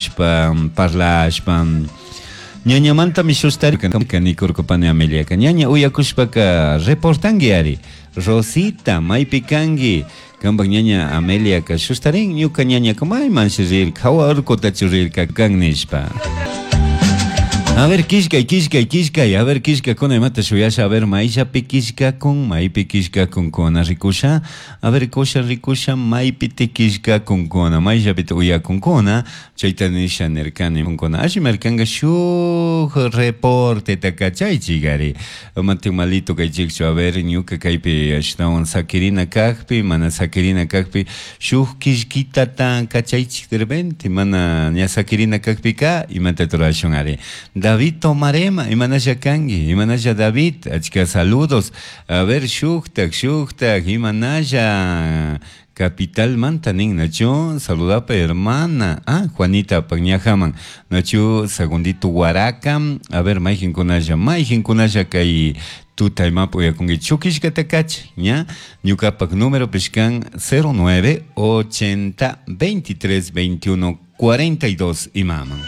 Shpa parlashpa ñañamantami shustarka nikurkapani Ameliaka ñaña uyakushpaka reportangui ari Rosita maypi kanki kampak ñaña Ameliaka shustarin ñuka ñañaka maymanshi rirka hawa urkutachu rirka kan nishpa. A ver, kishkay, kishkay, kishkay. A ver, kishkakuna imata shuyasha. A ver, mayllapi kishkakun, maypi kishkakunkuna rikusha. A ver, kusha rikusha, maypi kishkakunkuna, mayllapi uyakunkuna. Chayta nisha nirkani kunkuna. Alli markanga shuk reporteta kachaychik ari. Mati malito kaychikchu. A ver, ñuka kaypi ashtawan sakirina kakpi, mana sakirina kakpi, shuk kishkitata kachaychik de repente, mana ña sakirina kakpika, imata turashun ari. David Tomarema, imanasha kanki, imanasha David, achka saludos. A ver, shuktak, shuktak, imanasha capital manta nin, nachu, saludapa hermana, ah, Juanita Pañajaman, nachu, segundito Huaraca, a ver, mayqinkunalla, mayqinkunalla kay tuta imapi uyakunki chukishkata kachay, ña, ñukapak número pishkan 09 80 23 21 42 imaman.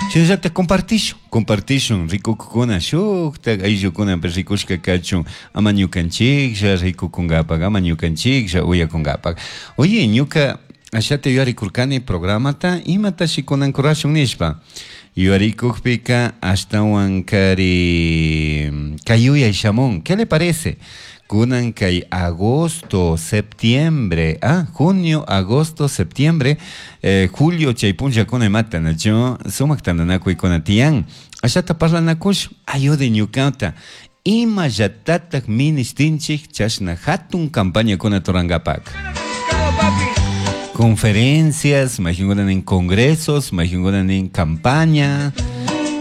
Shinallata compartishun, compartishun, rikukuna shuktak ayllukunapi rikushka kachun, ama ñukanchiklla rikukunkapak, ama ñukanchiklla uyakunkapak. Oye, ñuka ashata yuyarikurkani programata, imatashi kunan kurashun nishpa. Yuyarikukpika ashtawan kari kay yuyay shamun, ¿qué le parece? Kunan kay agosto, septiembre, ah, junio, agosto, septiembre, julio chay punllakuna imata nachu sumak tantanakuykuna tiyan. Ashata parlanakush, ayude ñukata. Imallatatak ministinchik chashna hatun campañakuna turankapak. Conferencias, mayqinkuna nin congresos, mayqinkuna nin campaña.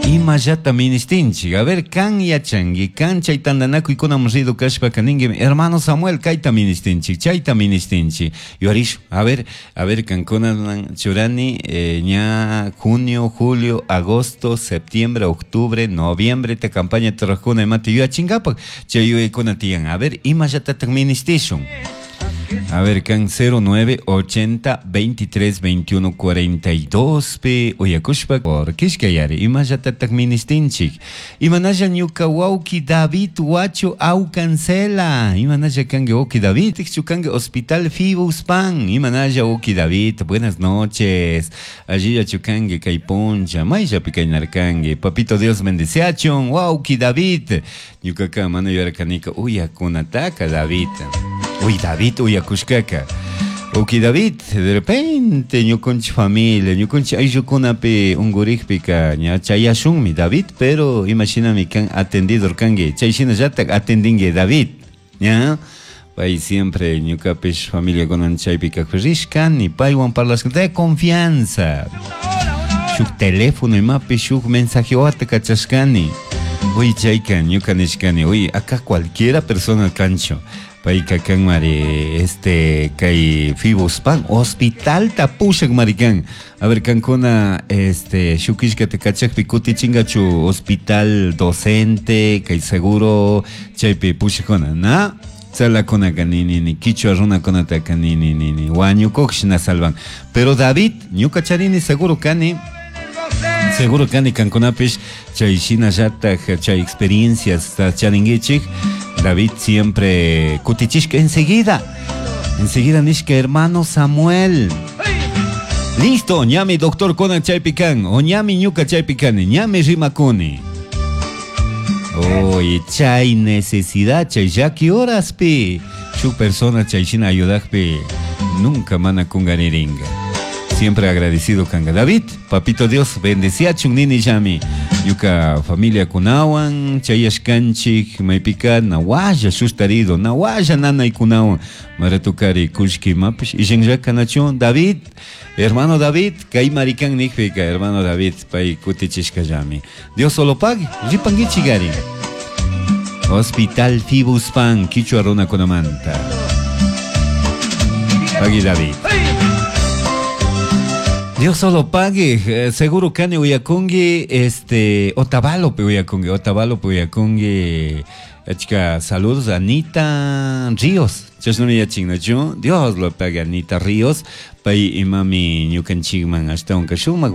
Imallata ministinchik. A ver, kan yachanki, kan chay tantanakuykunaman rido kashpaka ninki, hermano Samuel, kayta ministinchik, chayta ministinchik. Yuyarish, a ver, a ver, kankunaman churani, ña junio, julio, agosto, septiembre, octubre, noviembre, ta campaña turajkuna imata yuyachinkapak, chay yuyaykuna tiyan. A ver, imallatatak ministishun. A ver, kan 09 80 23 21 42 pe uyakushpa por kishkayari imallatatak ministinchik. Imanalla ñuka wawki David Huacho Aucancela. Imanalla kanki wawki David, kanki Hospital Fibuspan. Imanalla wawki David, buenas noches. Allilla chukanki kay puncha, mayllapi kaynarkanki. Papito Dios bendeciachun, wawki David. Ñukaka mana yuyarkanika uyakunataka David. Uy, David, uyakushkaka. Uki David, de repente ñukunchik familia, ñukunchik ayllukunapi unkurikpika ña chayashunmi David, pero imashinami kan atendido kanki, chay shinallatak atendinki David, ña. Pay siempre ñukapish familiakunan chaypi kajpi rishkani, paywan parlashka de confianza. Shuk teléfono imapi shuk mensajewata kachashkani. Uy, chayka ñuka nishkani, uy, acá cualquiera persona kancho. Payka kan mari, este, kay Fibuspan, hospital tapushak marikan. A ver, kankuna, este, shukishkata kachakpi kutichingachu hospital docente, kay seguro, chaypi pushakuna, na? Tzalakunaka ni, ni, ni, kichwa runakunataka ni, ni, ni, ni, wañukuqshina salvan. Pero David, ñuka charini seguro kani, seguro kani kankunapish chay shinallatak chay experiencias charinkichik. David siempre kutichishka enseguida, enseguida nishka hermano Samuel. Listo, ñami doctor kunan chaypi kan, o ñami ñuka chaypi kani, ñami rimakuni. Oye, chay necesidad, chay llaki horaspi, shuk persona chay shina ayudakpi, nunca mana kungariringa. Siempre agradecido kanga. David, papito Dios, bendeciachun nini llami. Ñuka familia kunawan, chayashkanchik, maypika nawalla sustarido, nawalla nanaykunawan. Maratukari kushki mapish, ishanllaka nachun, David, hermano David, kay marikan nikpika, hermano David, pay kutichishkallami. Dios solo pague, ripankichigari. Hospital Fibuspan, Kichwa runakunamanta. Pagui David. Dios solo pague, seguro kani uyakungi, este, Otavalopi uyakungi, Otavalopi uyakungi, achka saludos Anita Ríos, chashnami yachinachu, Dios lo pague Anita Ríos, pay imami ñukanchikman ashtawan shumaq.